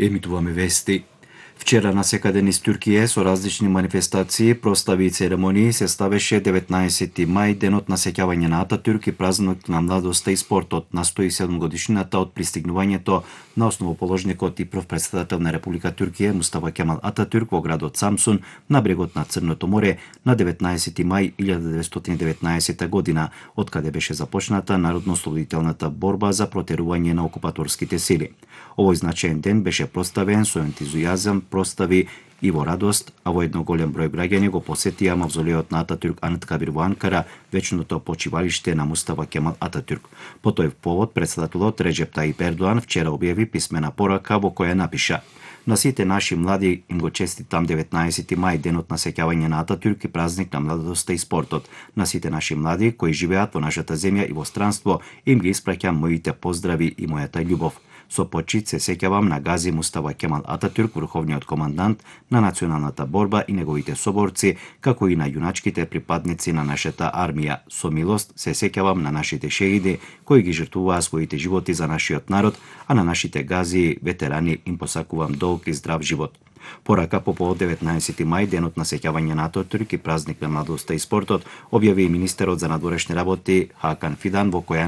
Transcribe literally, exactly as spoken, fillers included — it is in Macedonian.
Емитуваме вести. Вчера насекаде низ Туркија со различни манифестации, прослави и церемонии се славеше деветнаесети мај, денот на сеќавање на Ататурк и празник на младоста и спортот, на сто и седум годишнината од пристигнувањето на основоположникот и прв претседател на Република Туркија Мустафа Кемал Ататурк во градот Самсун на брегот на Црното море на деветнаесети мај илјада деветстотини и деветнаесетта година, од каде беше започната народно-ослободителната борба за протерување на окупаторските сили. Овој значаен ден беше прославен со ентузијазам, простави и во радост, а во едно голем број граѓани го посетија мавзолеот на Ататурк Анıtkabir во Анкара, вечното почивалиште на Мустафа Кемал Ататурк. По тој повод претседателот Реджеп Таип Ердоан вчера објави писмена порака во која напиша: На сите наши млади им го честитам деветнаесети мај, денот на сеќавање на Ататурк и празник на младоста и спортот. На сите наши млади кои живеат во нашата земја и во странство, им ги испраќам моите поздрави и мојата љубов. Со почит се сеќавам на Гази Мустафа Кемал Ататурк, врховниот командант на националната борба и неговите соборци, како и на јуначките припадници на нашата армија. Со милост се сеќавам на нашите шеиди кои ги жртвуваа своите животи за нашиот народ, а на нашите гази ветерани им посакувам долг и здрав живот. Порака по повод деветнаесети мај, денот на сеќавање на Ататурк и празник на младоста и спортот, објави и министерот за надворешни работи Хакан Фидан, во која